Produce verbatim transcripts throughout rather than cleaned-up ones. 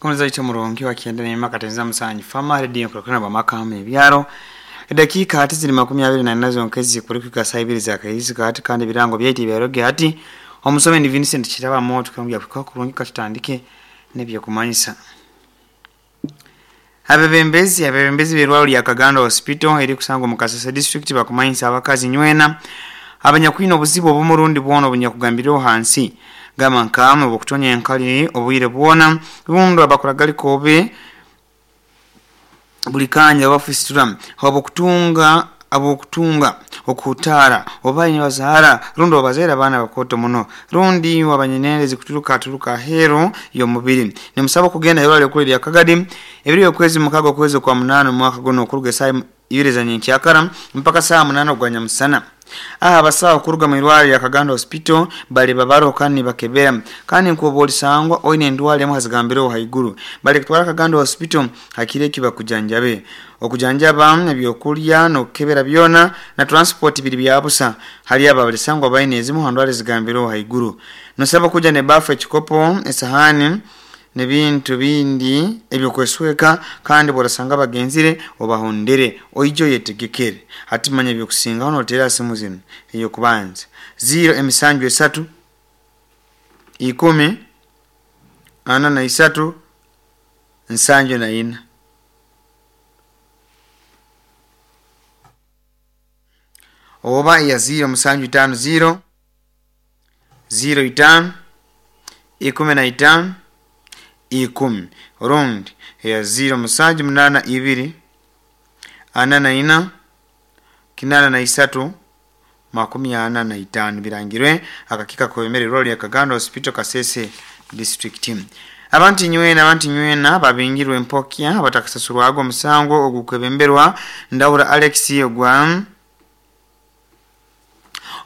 Kumaliza murungi wakienda nema katenza musanyi fama radio kulokana bamaka ebyaro edakika hati ziri makumi abiri na nne zonkezi kulikuka saa ibiri za kahizi kati kandi birango byaiti byaroge hati omusome ni Vincent Kiraba moto kambya kuka kurungi katutandike nebyo kumanyisa abebembezi abebembezi berwalo lya Kagando Hospital eri kusangwa mu Kasese district bakumanyisa abakazi nywena abanyakwina obuzibu obumurundi bwona obunyakugambiriho hansi gama nkama obukutonya enkali obwire bwona rundo abakuragali kobe buli kanya bafisitura abokutunga abokutunga okutara obayi bazahara rundo bazera abana bakoto muno rundi wabanyinende zikuturuka turuka hero yo mubiri nimusaba kugenda yolale kuli lya Kagadi ebiri okwezi mukago kwezi kwa munano mwaka gono okuruga saa ibiri za nyenkyakara mpaka saa munano gwa nyamusana. Aha abasawo okuruga mu irwaliro lya Kagando Hospital bali babaro kandi bakebera kandi nkubolisangwa oine endwara emu hazigambireho haiguru bali kutwara Kagando Hospital hakire kibakujanjabe okujanjaba ebyokulya n'okukebera byona na transport biri byabusa hali aba balisangwa baine ezimu handwara zigambireho haiguru. Nosaba kuja ne bafu, ekikopo, esahani nebintu bindi ebyokwesweka kandi borasanga bagenzire obahondere oijo yetegekere. Hati manya ebyokusingaho notera simu zino: eyokubanza ziro emisanju esatu ikumi ana na isatu nsanju na ina oba ya ziro musanju itano ziro ziro itano ikumi na itano ikumi rundi ya ziro musanju munana ibiri ana na ina kinana na isatu makumi ana na itano. Birangirwe akakika kwemere roli ya Kagando Hospital, Kasese district. Abantu nywena abantu nywena babingirwe empokya batakasasurwago omusango ogukwebemberwa Ndahura Alex ogwa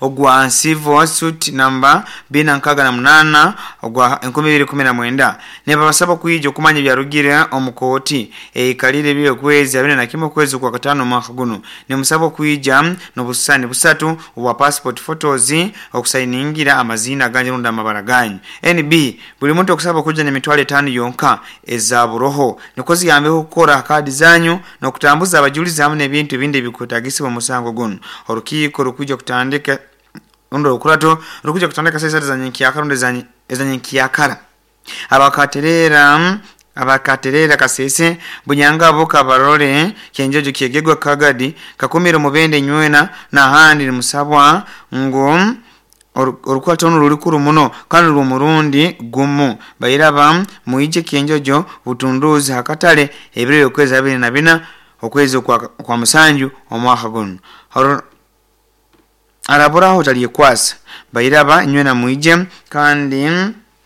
ogwa civil suit namba bina nkaga na munana ogwa enkumi ibiri kumi na mwenda. Nebabasaba kwija okumanya byarugire omukooti eikalire byo kwezi abiri na kimwe kwezi kwa katano mwaka guno. Nimusaba kwija n'obusani busatu obwa passport photos okusayiningira amazina ganje runda amabara ganyu. N B buli muntu okusaba kuja n'emitwalo etaano yonka eza buroho niko ziyambeho kukora kadi zanyu n'okutambuza abajulizi hamwe n'ebintu ebindi ebikwetagisibwa omusango guno. Orukiiko rukwija kutandika rundo rukurato rukuja kutandika saa isatu za nyenkyakara rundi eza nyenkyakara. Abakaterera abakaterera Kasese Bunyangabo, Kabarole, Kyenjojo, Kyegegwa, Kagadi, Kakumiro, Mubende nywena n'ahandi nimusabwa ngu orukwata onu rurikuru muno kandi rw'omurundi gumu. Bairaba muije Kyenjojo Butunduzi hakatale ebiro okwezi abiri na bina okwezi kwa, kwa musanju omwaka guno. Araburaho talyekwasa. Bairaba nywena muije kandi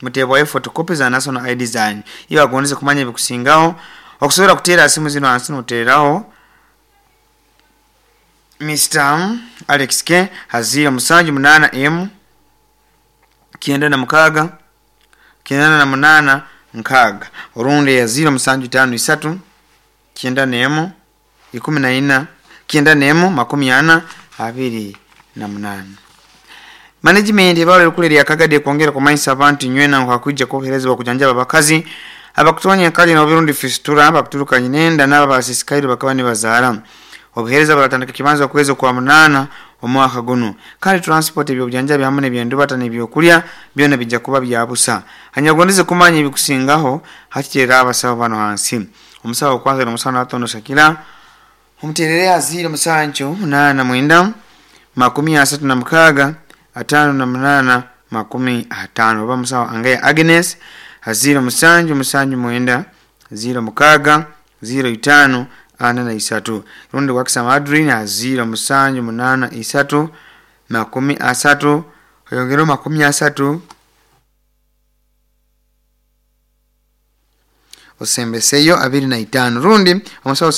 mutebwayo photocopy za national I D zanyu. Iyo agondeze kumanya ebikusingaho okusobola kuteera simu zino hansi noteeraho Mister Alex K haziro musanju munana M kyenda na mukaga kyenda na munana nkaga orundi ya ziro musanju tano isatu kyenda nemu ikumi na ina kyenda nemu makumi ana abiri na munana. Management ebalo kule ya Kagadi kwongera kumanyisa abantu nywena nkwakuja koherezwa kujanjaba abakazi abakutonya kali na obirundi fistura bakuturuka nyinenda n'aba basisikaire bakaba nibazaara. Obuhereza baratandika kibanza kwezi kwa munana omwaka guno kandi transport ebyobujanjabi hamwe n'ebyendubata n'ebyokulya byona bijja kuba byabusa. Hanyagondeze kumanya ebikusingaho hakitera abasawo bano hansi. Omusawo okwanza n'omusawo natono Shakira omuterere aziro musanju munana mwenda makumi asatu na mukaga atano na munana makumi atano oba musawo Angaya Agnes aziro musanju musanju mwenda ziro mukaga ziro itano ana na isatu rundi wakisa Madrid aziro musanju munana isatu makumi asatu oyongero makumi asatu osembeseyo abiri na itano rundi omusawo.